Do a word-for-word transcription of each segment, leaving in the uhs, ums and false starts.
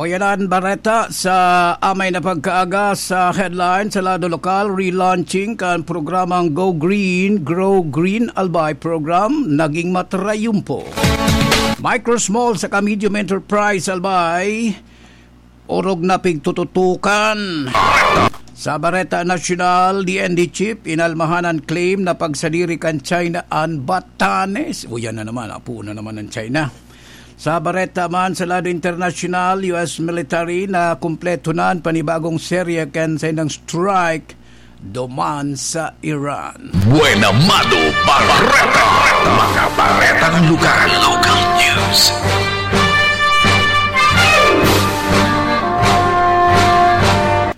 Yanan bareta sa amay na pagkaaga sa headline sa lado lokal, relaunching kan programang Go Green, Grow Green Albay Program, naging matrayumpo. Micro, small saka medium enterprise Albay, orog na pigtututukan. Sa bareta nasyonal, D N D chief, inalmahan an claim na pagsadiri kan China an Batanes. O, yan na naman, apo na naman ang China. Sa bareta man sa lado internasyonal, U S military na kumpleto na an panibagong serye kan saindang strike duman sa Iran. Buena Mado Bareta, mga baretang lugar, local news.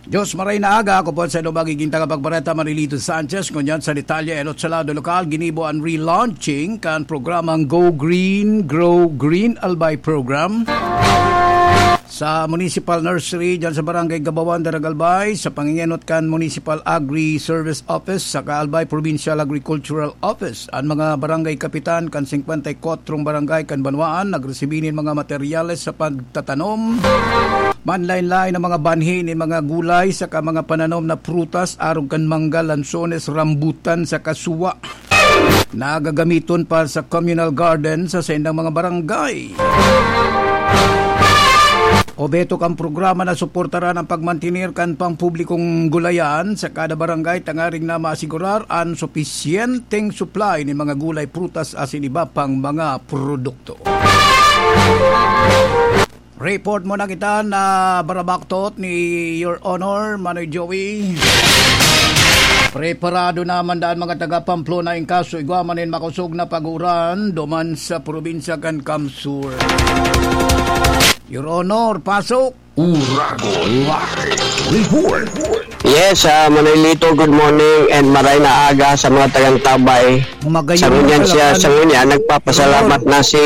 Diyos maray na aga, ako po sa inyo magiging tagapagbareta, Marilito Sanchez. Ngunyan sa detalye, enot sa lado lokal, ginibo an relaunching kan programang Go Green, Grow Green Albay Program sa Municipal Nursery, dyan sa Barangay Gabawan, Daragalbay, sa pangingenot kan Municipal Agri-Service Office, sa Albay Provincial Agricultural Office, an mga barangay kapitan kan singkwenta y kwatro barangay kan banwaan nagresibi nin mga materyales sa pagtatanom, manlaen-laen na mga banhi nin mga gulay, saka mga pananom na prutas, arog kan mangga, lansones, rambutan, saka suwa na gagamiton pa sa communal garden sa saindang mga barangay. Obheto kan programa na suportaran ang pagmantener kan pangpublikong gulayan sa kada barangay tangaring na maasigurar an supisyenteng supply nin mga gulay, prutas asin iba pang mga produkto. Report mo na kita na barabaktot ni Your Honor, Manoy Joey. Preparado naman daan mga taga Pamplona in kaso igwa man nin makosog na pag-uran duman sa probinsya kan Kamsur. Your Honor, pasok! Uragon Live Report. Yes, ah, Manolito, good morning and maray na aga sa mga tagang Tabay. Magayon Sa ngunyan na siya, pala. Sa ngunyan, nagpapasalamat na si